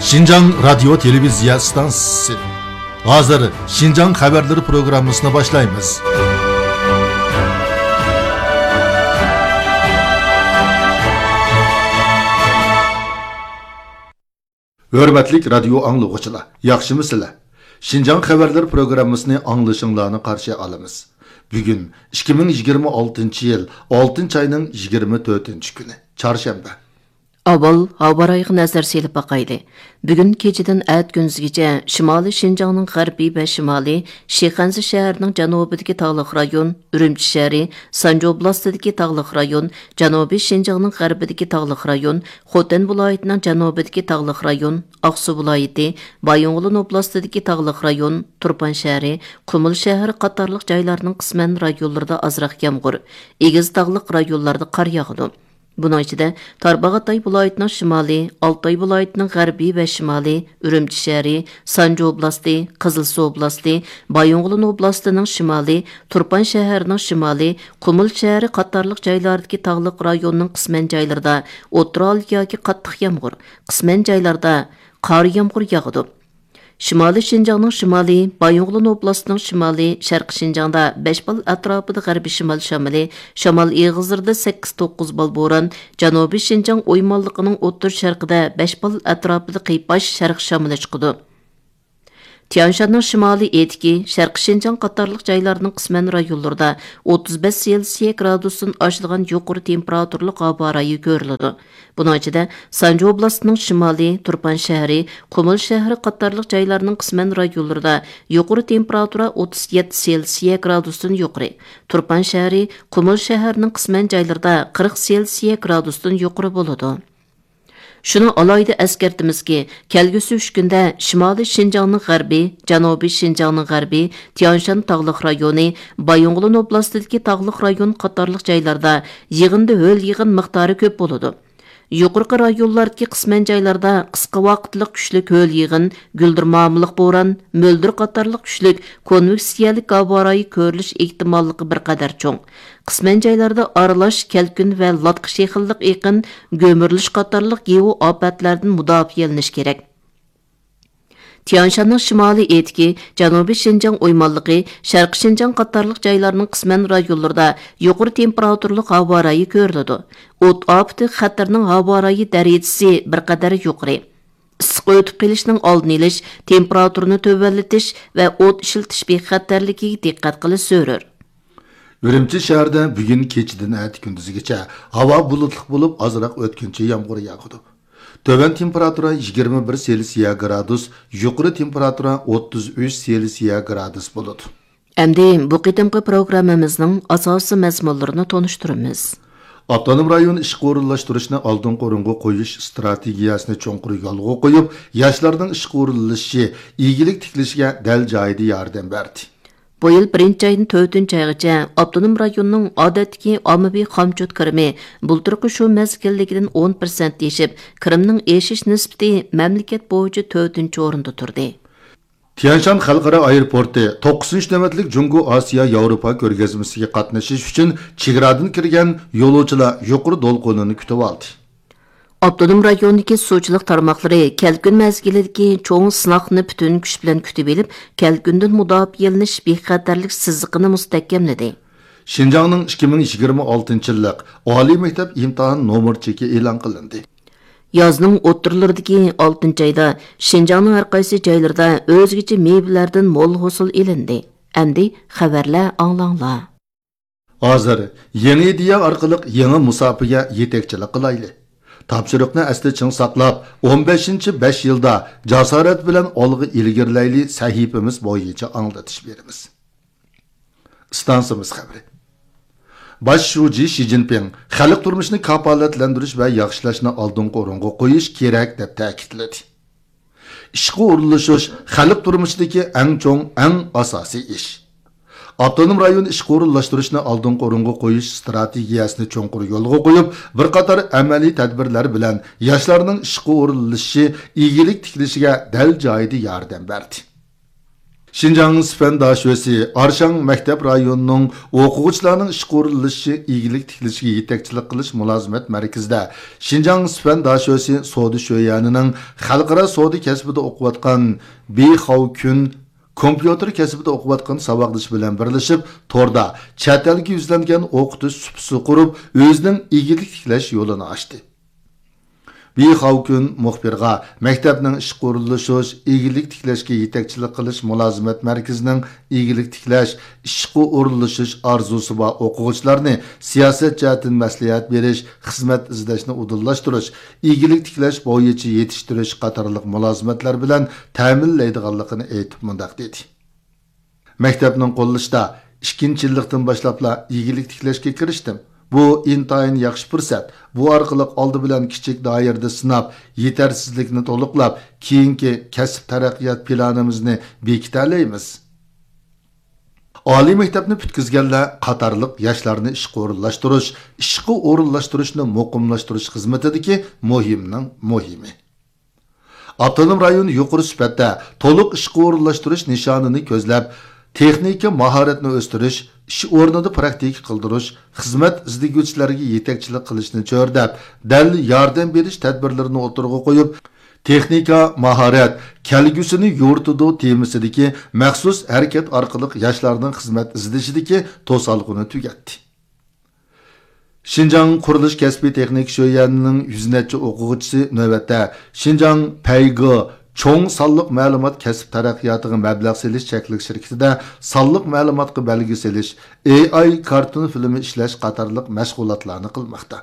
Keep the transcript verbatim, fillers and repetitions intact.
شىنجاڭ رادىيو تېلېۋىزىيە ئىستانسىسى. ھازىر شىنجاڭ خەۋەرلىرى پروگراممىسىنى باشلايمىز. ھۆرمەتلىك رادىيو ئاڭلىغۇچىلار، ياخشىمۇسىلەر؟ شىنجاڭ خەۋەرلىرى پروگراممىسىنى ئاڭلىشىڭلارنى قارشى ئالىمىز. بۈگۈن ئىككى مىڭ يىگىرمە ئالتىنچى يىل ئالتىنچى ئاينىڭ يىگىرمە تۆتىنچى كۈنى، چارشەنبە. ئاۋۋال ھاۋا رايىغا نەزەر سېلىپ باقايلى. بۈگۈن كېچىدىن ئەتە كۈندۈزگىچە شىمالىي شىنجاڭنىڭ غەربىي ۋە شىمالىي، شىخەنزە شەھىرىنىڭ جەنۇبىدىكى تاغلىق رايون، ئۈرۈمچى شەھىرى، سانجى ئوبلاستىدىكى تاغلىق رايون، جەنۇبىي شىنجاڭنىڭ غەربىدىكى تاغلىق رايون، خوتەن ۋىلايىتىنىڭ جەنۇبىدىكى تاغلىق رايون، ئاقسۇ ۋىلايىتى، بايىنغولىن ئوبلاستىدىكى تاغلىق رايون، تۇرپان شەھىرى، قۇمۇل شەھىرى قاتارلىق جايلارنىڭ قىسمەن رايونلىرىدا ئازراق يامغۇر، ئېگىز تاغلىق رايونلاردا قار ياغىدۇ. بۇنىڭ ئىچىدە، تارباغاتاي ۋىلايىتىنىڭ شىمالى، ئالتاي ۋىلايىتىنىڭ غەربىي ۋە شىمالى، ئۈرۈمچى شەھىرى، سانجى ئوبلاستى، قىزىلسۇ ئوبلاستى، بايىنغولىن ئوبلاستىنىڭ شىمالى، تۇرپان شەھىرىنىڭ شىمالى، قۇمۇل شەھىرى قاتارلىق جايلاردىكى تاغلىق رايوننىڭ قىسمەن جايلىرىدا ئوتتۇرا ھالدا ياكى قاتتىق يامغۇر، قىسمەن جايلاردا قارا يامغۇر ياغىدۇ. شىمالىي شىنجاڭنىڭ شىمالى، بايىنغولىن ئوبلاستىنىڭ شىمالى، شەرقىي شىنجاڭدا بەش بال ئەتراپىدا غەربىي شىمال شامىلى، شامال ئېغىزلىرىدا سەككىز توققۇز بال بوران، جەنۇبىي شىنجاڭ ئويمانلىقىنىڭ ئوتتۇرا شەرقىدە بەش بال ئەتراپىدا قىيپاش شەرق شامىلى چىقىدۇ. تيانشاننىڭ شىمالىي ئېتىكى، شەرقىي شىنجاڭ قاتارلىق جايلارنىڭ قىسمەن رايونلىرىدا ئوتتۇز بەش سېلسىيە گرادۇستىن ئاشىدىغان يۇقىرى تېمپېراتۇرىلىق ھاۋا رايى كۆرۈلىدۇ. بۇنىڭ ئىچىدە، سانجى ئوبلاستىنىڭ شىمالى، تۇرپان شەھىرى، قۇمۇل شەھىرى قاتارلىق جايلارنىڭ قىسمەن رايونلىرىدا يۇقىرى تېمپېراتۇرا ئوتتۇز يەتتە سېلسىيە گرادۇستىن يۇقىرى، تۇرپان شەھىرى، قۇمۇل شەھىرىنىڭ قىسمەن جايلىرىدا قىرىق سېلسىيە گرادۇستىن يۇقىرى بولىدۇ. شۇنى ئالاھىدە ئەسكەرتىمىزكى، كەلگۈسى ئۈچ كۈندە شىمالىي شىنجاڭنىڭ غەربى، جەنۇبىي شىنجاڭنىڭ غەربى، تيانشان تاغلىق رايونى، بايىنغولىن ئوبلاستىدىكى تاغلىق رايون قاتارلىق جايلاردا يېغىندى ھۆل يېغىن مىقدارى كۆپ بولىدۇ. يۇقىرىقى رايونلاردىكى قىسمەن جايلاردا قىسقا ۋاقىتلىق كۈچلۈك ھۆل يېغىن، گۈلدۈرمامىلىق بوران، مۆلدۈر قاتارلىق كۈچلۈك كونۋېكسىيەلىك ھاۋا رايى كۆرۈلۈش ئېھتىماللىقى بىر قەدەر چوڭ. قىسمەن جايلاردا ئارىلاش كەلكۈن ۋە لاتقا شېخىللىق ئېقىن، گۈمۈرۈلۈش قاتارلىق گېئو ئاپەتلەردىن مۇداپىئەلىنىش كېرەك. تيانشاننىڭ شىمالىي ئېتىكى، جەنۇبىي شىنجاڭ ئويمانلىقى، شەرقىي شىنجاڭ قاتارلىق جايلارنىڭ قىسمەن رايونلىرىدا يۇقىرى تېمپېراتۇرىلىق ھاۋا رايى كۆرۈلىدۇ. ئوت ئاپىتى خەتىرىنىڭ ھاۋا رايى دەرىجىسى بىر قەدەر يۇقىرى. ئىسسىق ئۆتۈپ قېلىشنىڭ ئالدىنى ئېلىش، تېمپېراتۇرىنى تۆۋەنلىتىش ۋە ئوت ئىشلىتىش بىخەتەرلىكىگە دىققەت قىلىش زۆرۈر. ئۈرۈمچى شەھىرىدە بۈگۈن كېچىدىن ئەتە كۈندۈزگىچە ھاۋا بۇلۇتلۇق بولۇپ، ئازراق ئۆتكۈنچى يامغۇر ياغىدۇ. تۆۋەن تېمپېراتۇرا يىگىرمە بىر سېلسىيە گرادۇس، يۇقىرى تېمپېراتۇرا ئوتتۇز ئۈچ سېلسىيە گرادۇس بولىدۇ. ئەمدى بۇ قېتىمقى پروگراممىمىزنىڭ ئاساسىي مەزمۇنلىرىنى تونۇشتۇرىمىز. ئاپتونوم رايون ئىشقا ئورۇنلاشتۇرۇشنى ئالدىنقى ئورۇنغا قويۇش ئىستراتېگىيەسىنى چوڭقۇر يولغا قويۇپ، ياشلارنىڭ ئىشقا ئورۇنلىشىشى، ئىگىلىك تىكلىشىگە دەل جايىدا ياردەم بەردى. بۇ يىل بىرىنچى ئايدىن تۆتىنچى ئايغىچە ئاپتونوم رايوننىڭ ئادەتتىكى ئاممىۋى خامچوت كىرىمى بۇلتۇرقى شۇ مەزگىلدىكىدىن ئون پىرسەنت ئېشىپ، كىرىمنىڭ ئېشىش نىسبىتى مەملىكەت بويىچە تۆتىنچى ئورۇندا تۇردى. تيەنشان خەلقئارا ئايروپورتى توققۇزىنچى نۆۋەتلىك جۇڭگو ئاسىيا ياۋروپا كۆرگەزمىسىگە قاتنىشىش ئۈچۈن چېگرادىن كىرگەن يولۇچىلار يۇقىرى دولقۇنىنى كۈتۈۋالدى. ئاپتونوم رايوندىكى سۇچىلىق تارماقلىرى كەلكۈن مەزگىلىدىكى چوڭ سىناقنى پۈتۈن كۈچ بىلەن كۈتۈۋېلىپ، كەلكۈندىن مۇداپىئەلىنىش بىخەتەرلىك سىزىقىنى مۇستەھكەملىدى. شىنجاڭنىڭ ئىككى مىڭ يىگىرمە ئالتىنچى يىللىق ئالىي مەكتەپ ئىمتىھان نومۇر چېكى ئېلان قىلىندى. يازنىڭ ئوتتۇرىلىرىدىكى ئالتىنچى ئايدا شىنجاڭنىڭ ھەر قايسى جايلىرىدا ئۆزگىچە مېۋىلەردىن مول ھوسۇل ئېلىندى. ئەمدى خەۋەرلەر ئاڭلاڭلار. ھازىر يېڭى ئىدىيە ئارقىلىق يېڭى مۇساپىگە يېتەكچىلىك قىلايلى. تاپشۇرۇقنى ئەستە چىڭ ساقلاپ، ئون بەشىنچى بەش يىلدا جاسارەت بىلەن ئالغا ئىلگىرىلەيلى سەھىپىمىز بويىچە ئاڭلىتىش بېرىمىز. ئىستانسىمىز خەۋىرى. باش شۇجى شى جىنپىڭ خەلق تۇرمۇشىنى كاپالەتلەندۈرۈش ۋە ياخشىلاشنى ئالدىنقى ئورۇنغا قويۇش كېرەك، دەپ تەكىتلىدى. ئىشقا ئورۇنلىشىش خەلق تۇرمۇشىدىكى ئەڭ چوڭ، ئەڭ ئاساسىي ئىش. ئاپتونوم رايون ئىشقا ئورۇنلاشتۇرۇشنى ئالدىنقى ئورۇنغا قويۇش ئىستراتېگىيەسىنى چوڭقۇر يولغا قويۇپ، بىر قاتار ئەمەلىي تەدبىرلەر بىلەن ياشلارنىڭ ئىشقا ئورۇنلىشىشى، ئىگىلىك تىكلىشىگە دەل جايىدا ياردەم بەردى. شىنجاڭ سىفەن داشۆسى ئارشاڭ مەكتەپ رايونىنىڭ ئوقۇغۇچىلارنىڭ ئىشقا ئورۇنلىشىشى، ئىگىلىك تىكلىشىگە يېتەكچىلىك قىلىش مۇلازىمەت مەركىزىدە شىنجاڭ سىفەن داشۆسى سودا شۆيەنىنىڭ خەلقئارا سودا كەسپىدە ئوقۇۋاتقان بى خاۋكۈن كومپيۇتېر كەسپىدە ئوقۇۋاتقان ساۋاقدىشى بىلەن بىرلىشىپ، توردا چەت ئەلگە يۈزلەنگەن ئوقۇتۇش سۇپىسى قۇرۇپ، ئۆزىنىڭ ئىگىلىك تىكلەش يولىنى ئاچتى. بى خاۋكۈن مۇخبىرغا مەكتەپنىڭ ئىشقا ئورۇنلىشىش، ئىگىلىك تىكلەشكە يېتەكچىلىك قىلىش مۇلازىمەت مەركىزىنىڭ ئىگىلىك تىكلەش، ئىشقا ئورۇنلىشىش ئارزۇسى بار ئوقۇغۇچىلارنى سىياسەت جەھەتتىن مەسلىھەت بېرىش، خىزمەت ئىزدەشنى ئۇدۇللاشتۇرۇش، ئىگىلىك تىكلەش بويىچە يېتىشتۈرۈش قاتارلىق مۇلازىمەتلەر بىلەن تەمىنلەيدىغانلىقىنى ئېيتىپ مۇنداق دېدى. مەكتەپنىڭ قوللىشىدا ئىككىنچى يىللىقتىن باشلاپلا ئىگىلىك تىكلەشكە كىرىشتىم. بۇ ئىنتايىن ياخشى پۇرسەت. بۇ ئارقىلىق ئالدى بىلەن كىچىك دائىرىدە سىناپ، يېتەرسىزلىكنى تولۇقلاپ، كېيىنكى كەسىپ تەرەققىيات پىلانىمىزنى بېكىتەلەيمىز. ئالىي مەكتەپنى پۈتكۈزگەنلەر قاتارلىق ياشلارنى ئىشقا ئورۇنلاشتۇرۇش، ئىشقا ئورۇنلاشتۇرۇشنى مۇقىملاشتۇرۇش خىزمىتىدىكى مۇھىمنىڭ مۇھىمى. ئاپتونوم رايون يۇقىرى سۈپەتتە تولۇق ئىشقا ئورۇنلاشتۇرۇش نىشانىنى كۆزلەپ، تېخنىكا ماھارەتنى ئۆستۈرۈش، ئىش ئورنىدا پراكتىكا قىلدۇرۇش، خىزمەت ئىزدىگۈچىلەرگە يېتەكچىلىك قىلىشنى چۆرىدەپ، دەل ياردەم بېرىش تەدبىرلىرىنى ئوتتۇرىغا قويۇپ، تېخنىكا ماھارەت كەلگۈسىنى يورۇتىدۇ تېمىسىدىكى مەخسۇس ھەرىكەت ئارقىلىق ياشلارنىڭ خىزمەت ئىزدىشىدىكى توسالغۇنى تۈگەتتى. شىنجاڭ قۇرۇلۇش كەسپىي تېخنىكا شۆيەنىنىڭ يۈز نەچچە ئوقۇغۇچىسى نۆۋەتتە شىنجاڭ پەيگې چوڭ سانلىق مەلۇمات كەسىپ تەرەققىياتىغا مەبلەغ سېلىش چەكلىك شىركىتىدە سانلىق مەلۇماتقا بەلگە سېلىش، ئېي ئاي كارتون فىلىمى ئىشلەش قاتارلىق مەشغۇلاتلارنى قىلماقتا.